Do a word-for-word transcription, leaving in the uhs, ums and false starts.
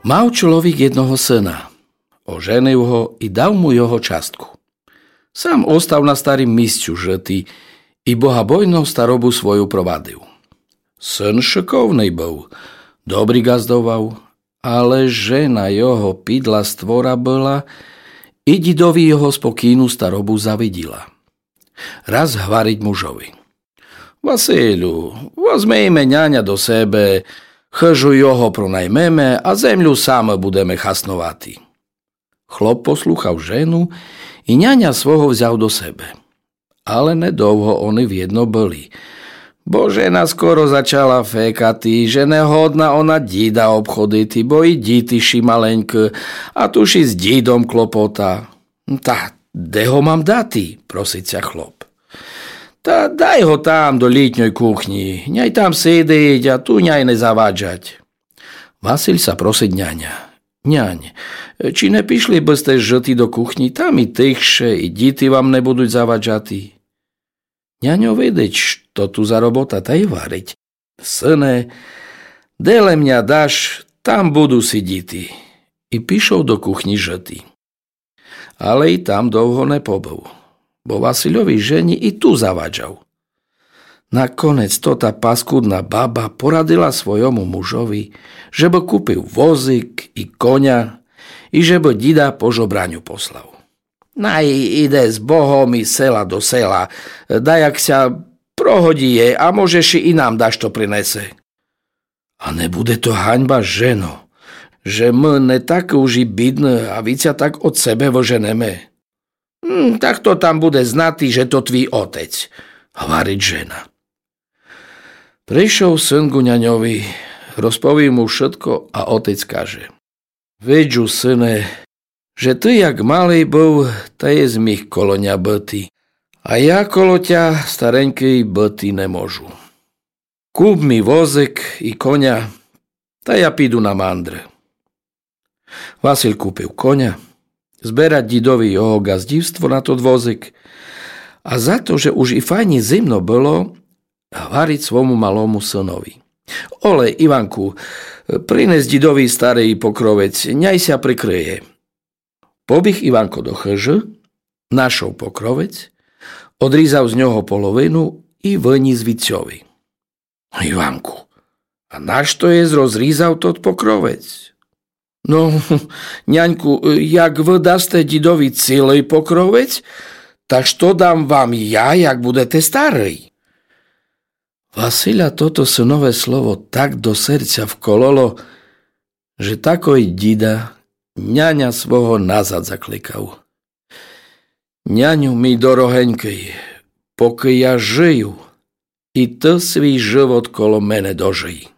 Мав чоловік єдного сына, оженив го і дав му його частку. Сам остав на старім місцю жыти і богобойно старобу свою провадив. Сын шыковный быв, добрі ґаздовав, але жена його підла створа была і дідови його спокійну старобу завиділа. Раз гварить мужови: Василю, возмейме няня до себе, хыжу його пронаймеме, а землю самы будеме хасновати. Хлоп послухав жену і няня свого взяв до себе. Але недовго они вєдно были, бо жена скоро зачала фекати, же не годна она діда обходити, бо і діти ши маленькы, а туж і з дідом клопота. Та де го мам дати? Просить ся хлоп. Та дай го там до літньой кухні, няй там сидить, а ту няй не заваджать. Василь ся просить няня: Нянь, чи не пішли бы сте жыти до кухні, там і тихше, і діти вам не будуть заваджати. Няньо видить, што ту за робота, та й гварить: Сыне, де лем ня даш, там буду сидіти. І пішов до кухні жыти. Але і там довго не побыв, бо Васильовій жені і ту заваджав. Наконець тота паскудна баба порадила свойому мужови, жебы купив возик і коня, і жебы діда по жобраню послав. Най іде з Богом і села до села, даяк ся прогодіє, а може ши і нам дашто принесе. А не буде то ганьба, жено, же мы не такы уж і бідны, а віця так од себе выженеме? М, та хто там буде знати, же то твій отець? Гварить жена. Пришов сын ку няньови, розповів му вшытко, а отець каже: Виджу, сыне, же ты як малый быв, та єс міг коло ня быти, а я коло тя, старенькый, быти не можу. Куп мі возик і коня, та я піду на мандры. Василь купив коня, зберать дідови його ґаздівство на тот возик, а за то, же уж і файні зимно было, гварить свому малому сынови: Оле, Іванку, принес дідови старый покровець, няй ся прикрыє. Побіг Іванко до хыжы, нашов покровець, одрізав з нього половину і выніс вітцьови. Іванку, а нашто єс розрізав тот покровець? Но, няньку, як вы дасте дідови цілый покровець, та што дам вам я, як будете старый? Василя тото сынове слово так до серця вкололо, же такой діда няня свого назад закликав: Няню мій дорогенькый, покы я жыю, і ты свій жывот коло мене дожый.